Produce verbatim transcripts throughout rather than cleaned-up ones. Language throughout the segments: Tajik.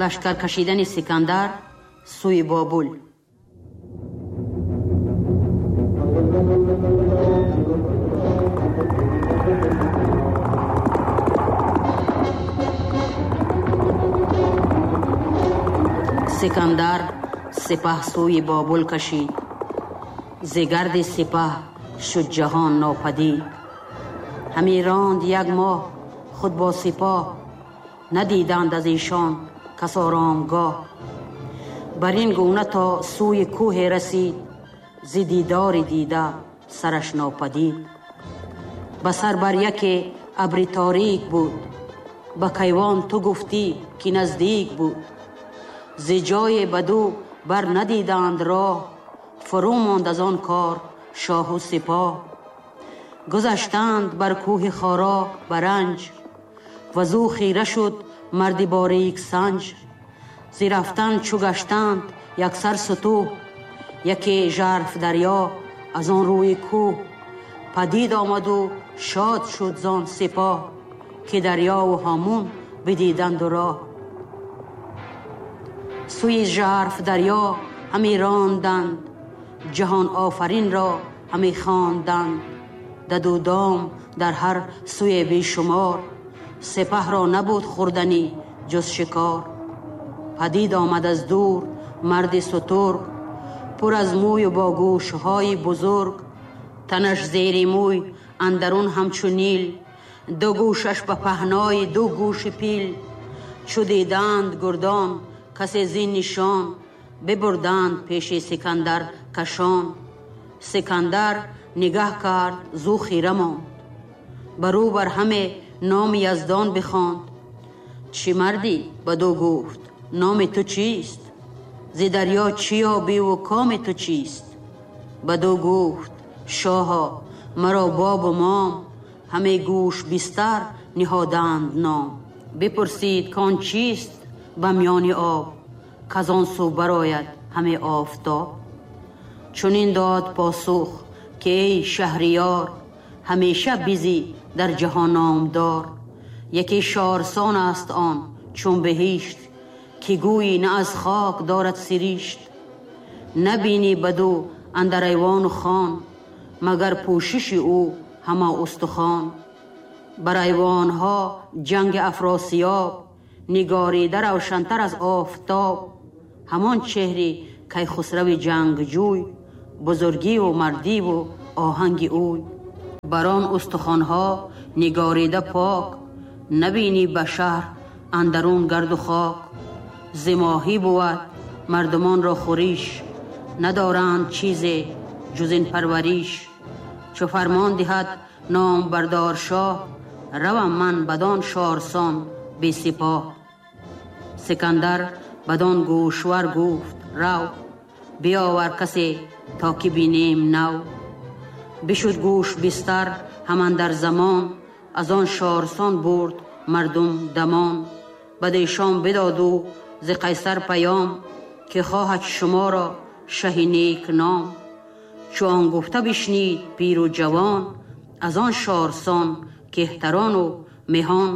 Лашкар кашидани Сикандар сӯи Бобул. Сикандар сипаҳ сӯи Бобул кашид, зи гарди сипаҳ шуд ҷаҳон нопадид. Ҳами ронд як моҳ худ бо сипоҳ, надиданд аз эшон кас оромгоҳ. Бар ин гуна то сӯи кӯҳе расид, зи дидори дида сараш нопадид. Ба сар бар яке абри торик буд, ба кайвон ту гуфтӣ ки наздик буд. Зи ҷое баду бар надиданд роҳ, фурӯ монд аз он кор шоҳу сипоҳ. Гузаштанд бар кӯҳи хоро баранҷ, вазу хира шуд марди борик санҷ. Зи рафтан чу гаштанд яксар сутӯҳ, яке жарф дарё аз он рӯи кӯҳ. Падид омаду шод шуд зон сипоҳ, ки дарёву ҳомун бидиданду роҳ. Сӯи жарф дарё ҳами ронданд, ҷаҳон офаринро ҳами хонданд. Даду дом дар ҳар сӯе бешумор, сипаҳро набуд хӯрданӣ ҷуз шикор. Падид омад аз дур марди сутург, пур аз мӯю бо гӯшҳои бузург. Танаш зери мӯй андарун ҳамчу нил, ду гӯшаш ба паҳнои ду гӯши пил. Чу диданд гурдон касе зин нишон, бибурданд пеши Сикандар кашон. Сикандар нигаҳ кард, зу хира монд, барӯ бар ҳаме номи Яздон бихонд. Чӣ мардӣ? Баду гуфт номи ту чист? Зи дарё чӣ ёбиву коми ту чист? Баду гуфт шоҳо маро бобу мом, ҳаме гӯш бистар ниҳоданд ном. Бипурсид кон чист ба миёни об, казон сӯ барояд ҳаме офтоб. Чунин дод посух ки эй шаҳриёр, ҳамеша бизӣ дар ҷаҳон номдор. Яке шорсон аст он чун беҳишт, ки гӯйӣ на аз хок дорад сиришт. Набинӣ баду андар айвону хон, магар пӯшиши ӯ ҳама устухон. Бар айвонҳо ҷанги Афросиёб, нигорида равшантар аз офтоб. Ҳамон чеҳри Кайхусрави ҷангҷӯй, бузургиву мардиву оҳанги ӯй. Бар он устухонҳо нигорида пок, набинӣ ба шаҳр андарун гарду хок. Зи моҳӣ бувад мардумонро хӯриш, надоранд чизе ҷуз ин парвариш. Чу фармон диҳад номбардор шоҳ, равам ман бадон шорсон бесипоҳ. Сикандар бадон гӯшвар гуфт рав, биёвар касе то ки бинем нав. Бишуд гӯш бистар ҳаман дар замон, аз он шорсон бурд мардум дамон. Бадешон бидоду зи Қайсар паём, ки хоҳад шуморо шаҳи нек ном. Чу он гуфта бишнид пиру ҷавон, аз он шорсон кеҳтарону меҳон.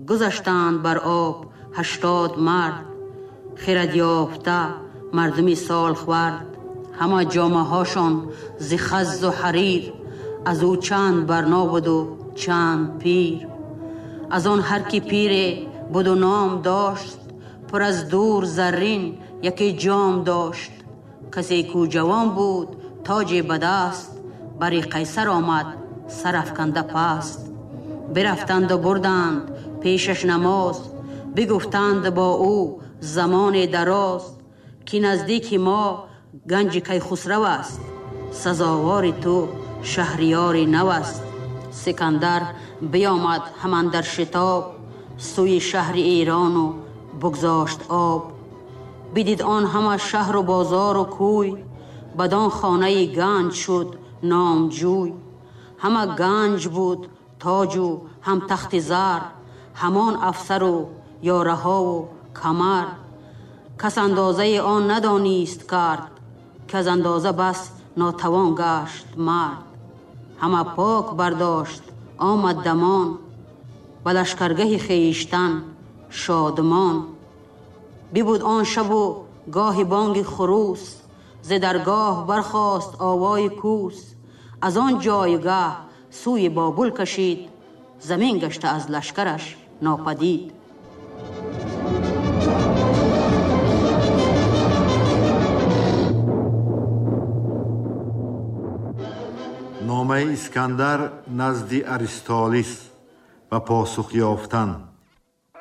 Гузаштанд бар об ҳаштод мард, хирад ёфта мардуми солхӯрд. Ҳама ҷомаҳошон зи хаззу ҳарир, аз ӯ чанд барно буду чанд пир. Аз он ҳар ки пире буду ном дошт, пур аз дур заррин яке ҷом дошт. Касе ку ҷавон буд тоҷе ба даст, бари Қайсар омад сарафканда паст. Бирафтанду бурданд пешаш намоз, бигуфтанд бо ӯ замоне дароз, ки наздики мо ганҷи Кайхусрав аст, сазовори ту шаҳриёри нав аст. Сикандар биёмад ҳаман дар шитоб, сӯи шаҳри Эрону бигзошт об. Бидид он ҳама шаҳру бозору кӯй, бадон хонаи ганҷ шуд номҷӯй. Ҳама ганҷ буд тоҷу ҳам тахти зар, ҳамон афсару ёраҳову камар. Кас андозаи он надонист кард, ки аз андоза бас нотавон гашт мард. Ҳама пок бардошт омад дамон, ба лашкаргаҳи хештан шодмон. ببود آن شب و گاه بانگ خروس، ز درگاه برخاست آوای کوس. از آن جایگه سوی بابل کشید، زمین گشته از لشکرش ناپدید. Номаи Искандар назди Аристолис ва посух ёфтан.